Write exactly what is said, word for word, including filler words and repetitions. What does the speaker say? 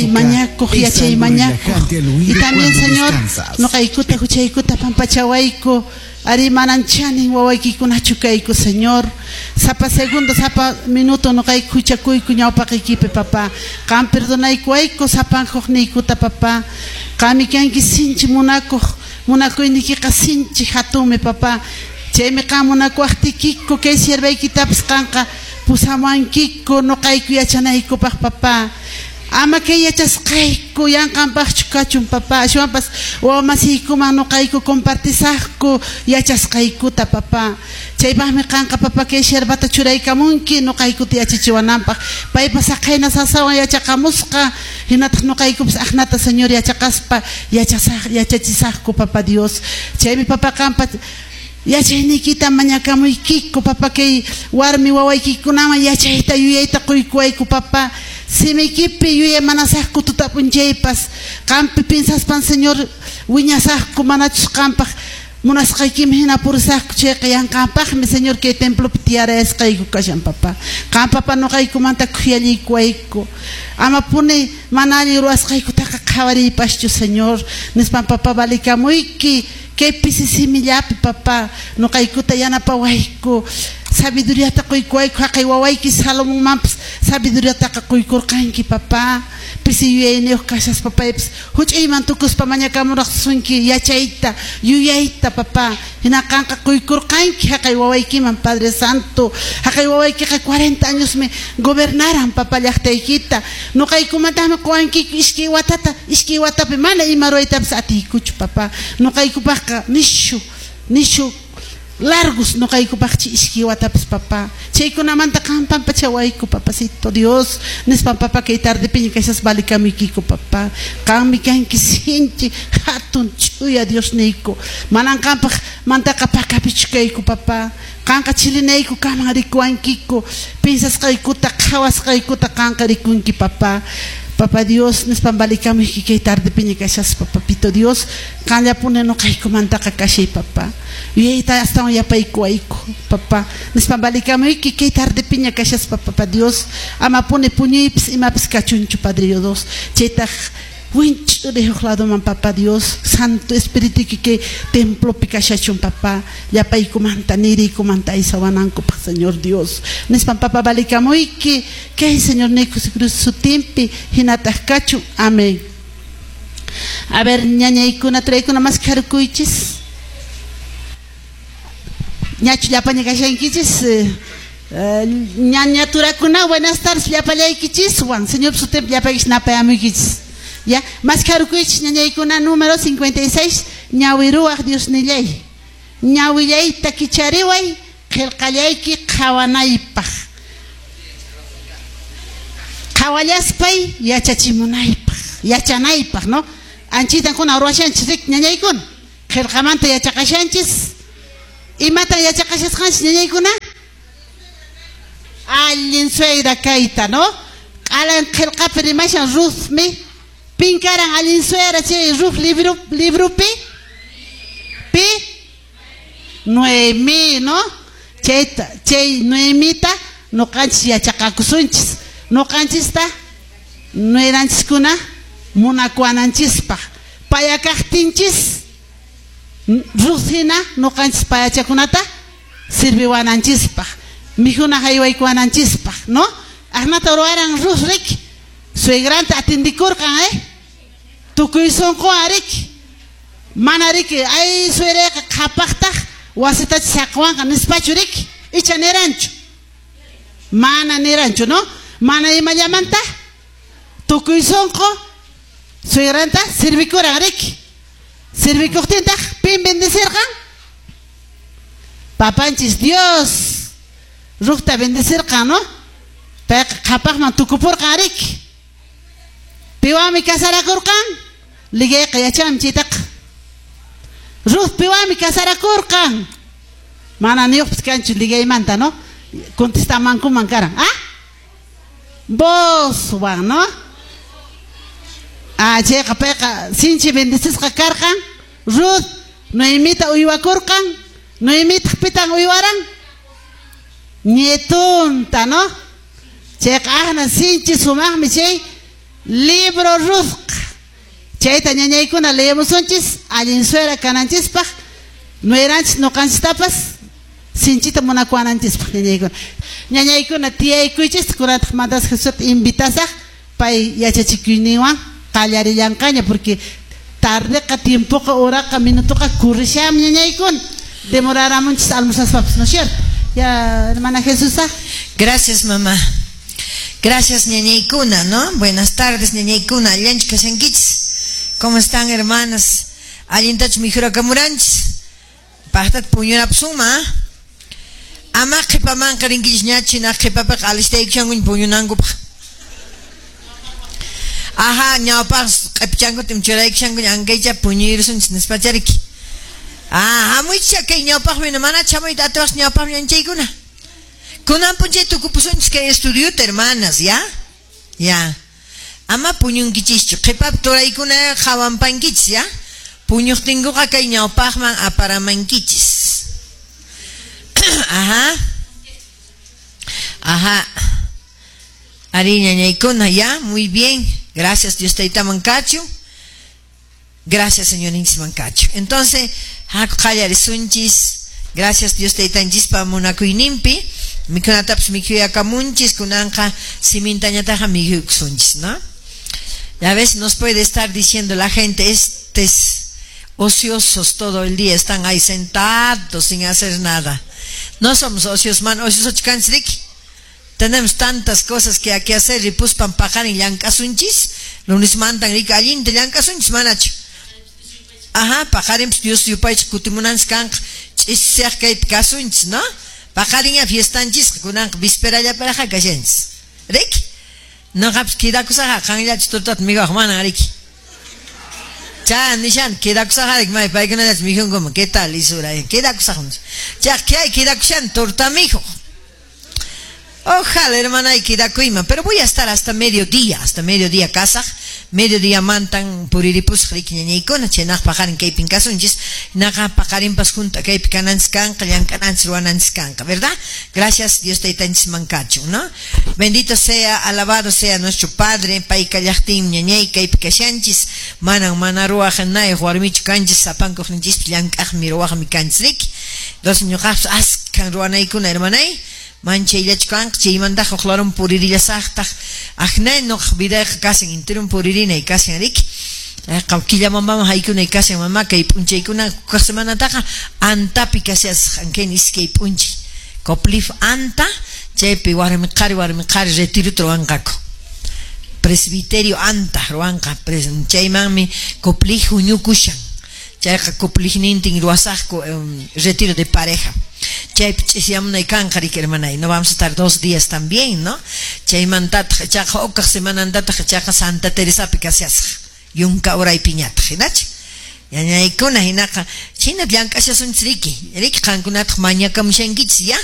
Mañakuq Es yachay algo mañakuq relajante al y oído también cuando Señor descansas. Noqaykuta huchaykuta pampachawayku ari manan chanin wawaykikunachu kayku, Señor. Sapa segundo, sapa minuto noqayku huchakuyku ñawpaqiykipi, papá. Qam perdonaykuwayku sapan huqniykuta, papá. Qami kanki sinchi munakuq, munakuynikiqa sinchi hatunmi, papá. Chaymi qam munakuwaqtikiku kay siervaykitapas qanqa pusamuwankiku noqayku yachanaykupaq, papá. Ama kay yachasqayku yanqanpaqchu kachun, papá. Ashwanpas wawamasiykuman noqayku compartisaqku yachasqaykuta, papá. Chaypaqmi qanqa, papá, kay siervata churaykamunki noqaykuta yachachiwananpaq. Paypas aqhayna sasawan yachaqamusqa, hinataq noqaykupas aqnata, Señor, yachaqaspa yachasaq yachachisaqku, papá Dios. Chaymi, papá, qampa yachayniykita mañakamuykiku, papá. Kay warmi wawaykikunaman yachayta yuyayta quykuwayku, papá. Simiykipi yuyaymanasaqku tuta p'unchaypas. Qampi piensaspan, Señor, wiñasaqku. Manachus qampaq munasqaykiman hina purisaqku chayqa yanqanpaqmi, Señor, kay templopi tiyarayasqayku kashan, papá. Qam, papá, noqaykumanta khuyallaykuwayku. Amapuni mana allin ruwasqaykutaqa qhawariypaschu, Señor, nispan, papá, valikamuyki kay pisi simillapi, papá. Noqaykuta yanapawayku, sabiduriata quykuwayku. Haqay wawayki Salomonmanpas sabiduriataqa quykurqanki, papá. Pisi yuyayniyuq kashaspa paypas huch'uyman tukuspa mañakamuraqsunki yachayta yuyayta, papá. Hina qanqa quykurqanki haqay wawaykiman, Padre Santo. Haqay wawaykiqa cuarenta añosmi gobernaran, papá, llaqtaykita. Noqaykumantakmi quwankiku iskay watata. Iskay watapi mana ima ruwaytapas atiykuchu, papá. Noqaykupaqqa nishu nishu largos noqaykupaqchi iskay watapas, papá. Chaykunamanta qam pampachawayku, papacito Dios, nispan, papá, kay tardepiña kashaspa valikamuykiku, papá. Qammi kanki sinchi hatun ch'uya Diosniyku. Manan qampaq mantaqa pakapichu kayku, papá. Qanqa chilinayku kaman rikuwankiku. Piensasqaykuta qhawasqaykuta qanqa rikunki, papá. Papá Dios, nispan valikamuyki kay tardepiña kashaspa, papito Dios. Qanllapuni noqaykumantaqa kashay, papá. Yuyayta astawan yapaykuwayku, papá, nispan valikamuyki kay tardepiña kashaspa, papá Dios. Amapuni puñuypis imapis kachunchu, Padre Dios. Chaytaq winch'uri huk ladoman, papá Dios. Santo Espirituyki kay templopi kashachun, papá, llapaykumanta niriykumanta aysawanankupaq, Señor Dios, nispan, papá, valikamuyki kay Señor Jesucristo sutinpi. Hinataq kachun. Amén. A ver, ñañaykuna, turaykuna, maskharukuychis. Ñachu llapaña kashankichis? eh, ñaña turakuna, buenas tardes llapallaykichiswan. Señor sutinpi llapaykichis napayamuykichis. Ya, maskharukuychis, ñañaykuna, número cincuenta y seis, ñawiruwaq Diosnillay. Ñawillayta kichariway qillqallayki qhawanaypaq. Qhawallaspay yachachimunaypaq, yachanaypaq, ¿no? Anchitan kuna ruwashanchis, rik, ñañaykuna. Qillqamanta yachaqashanchis. Imatan yachaqashasqanchis, ñañaykuna? Allin suegra kayta, ¿no? Q'alan qillqapi rimashan Ruthmi. Pin karan allin suegra chay Ruth libro libropi? Pi? Noemí, ¿no? Chayta, chay Noemita noqanchis yachaqakusunchis. Noqanchista nueranchiskuna munakuwananchispaq. Payakaqtinchis Ruth hina noqanchis payachakunata sirviwananchispaq. Mikhuna haywaykuwananchispaq, ¿no? Aqnata ruwaran Ruth, rik. Suegranta atindikurqan, eh? Tukuy sunquwan, rik. Mana, riki, ay, suegrayqa qhapaqtaq wasitachi saqwanqa nispachu, rik. Icha niranchu. Mana niranchu, ¿no? Mana imallamanta tukuy sunqu suegranta sirvikuran, rik. Sirvikuqtintaq pin bendecirqan? Papanchis Dios. Ruthta bendecirqan, ¿no? Payqa qhapaqman tukupurqan, rik. Piwanmi casarakurqan? Ligayqa yachanmi chaytaqa. Ruth piwanmi casarakurqan? Mana niyuqpis kanchu ligaymanta, ¿no? Contestamankuman karan. ¿Ah? Boozwan, ¿no? Ah, chayqa payqa sinchi bendecisqa karqan. Ruth Noemita uywakurqan. Noemitaq pitan uywaran? Nietunta, ¿no? Chayqa ahna sinchi sumaqmi chay Libro Ruthqa. Chayta ñañaykuna leemusunchis allin suera kananchispaq, nueranchis ñuqanchistapas sinchita munakuwananchispaq ñañaykuna. Ñañaykuna tiyaykuychis kunataq mandas Jesusta invitasaq pay yachachikuyninwan qallarillanqaña porque tardeqa tiempoqa horaqa minutoqa kurrisham ñañaykuna. Demoraramunchis almorzaspapas, ¿no es cierto? Ya, hermana Jesusa. Gracias, mamá. Gracias, ñañaykuna, ¿no? Buenas tardes, ñañaykuna. Allanchu kashankichis. ¿Cómo están, hermanas? Allintach mikhurakamuranchis. Paqtat puñurapusuma. Ama qhipamanqa rinkichis ñachi na qhipapiqa alistaykushankuña puñunankupaq. Ajá, ñawpaq q'ipichankuta churaykushankuña ankaycha puñuyrusunchis nispachariki. Ah, hamuychis kay ñawpaqmi mana chamuyta atiwaq ñawpaqmi ñanchaykuna. Kunan p'unchay tukupusunchis kay estudiota, hermanas, ¿ya? Ya. Ama puñunkichischu, qhipapi turaykuna qhawanpankichis, ¿ya? Puñuqtinkuqa kay ñawpaqman aparamankichis. Ajá. Ajá. Ari ñañaykuna, ya, muy bien. Gracias Dios taytaman kachu. Gracias Señor mankachu. Entonces, haku qallarisunchis. Gracias Dios taytanchispa munakuyninpi. Mikhunatapas mikhuyakamunchis, kunanqa simintañataqa mikhuykusunchis, ¿no? Ya ves, nos puede estar diciendo la gente, estos ociosos todo el día están ahí sentados sin hacer nada. No somos ociosos, man, ociosos kanchis. Tenemos tantas cosas que hay que hacer y puspan paqarin llank'asunchis, lunes mantan rika allinta llank'asunchis manachu. Ajá, paqarin Dios yupaychis kutimunanchis kanqa ch'isiyaq kaypi kasunchis, ¿no? Paqarin fiestanchis kunanqa vísperallaparaqa kashanchis. Riki? Noqapis quedakusaqa qanllachis tortata mikhuwaq manan riki. Cha nishan quedakusaqa riki may paykunallachis mikhunkuman, ¿qué tal isura? Quedakusaq. Chaq kay quedakushan torta mikhuq. Ojalá, hermana, y quedakuyman, pero voy a estar hasta mediodía, hasta mediodía kasaq, mediodía mantan puriripusaq riki ñañaykuna, chaynaq paqarin kaypin kasunchis, naqa paqarinpas junta kaypi kananchis kanqa, llank'ananchis ruwananchis kanqa, ¿verdad? Gracias Dios taytanchis mankachu, ¿no? Bendito sea, alabado sea nuestro Padre, pay kallaqtin ñañay kaypi kashanchis, manan mana ruwaq nayuq warmichu kanchis, sapankuqninchispis llank'aqmi ruwaqmi kanchis riki. Entonces ñuqaqpis askan ruwanaykuna, hermanay, manchayllachu kanqa, chaymantaqa uqlarum puririllasaqtaq, aqnay nuqa vidayqa kasan intirum puririnay kasan riki. Qillamanpaman haykunay kasan mama kay p'unchaykuna kaq semanataqa antapi kashasaq ankayna iskay p'unchay. Coplif anta, chaypi warmi qhari warmi qhari retirota ruwanqaku. Presbiterio anta ruwanqa, chaymanmi coplij huñukushan. Chayqa coplijnintin ruwasaqku retiro de pareja. Chaypi ch'isyamunay kanqa riki hermanay, no vamos a estar dos días también, ¿no? Chaymantataq chaqa uqaq semanantataq chaqa Santa Teresapi kashasaq, yunka uraypiñataq, hinachu? Ñañaykuna hinaqa chhina llank'ashasunchis riki, riki qankunataq mañakamushankichis, ¿ya?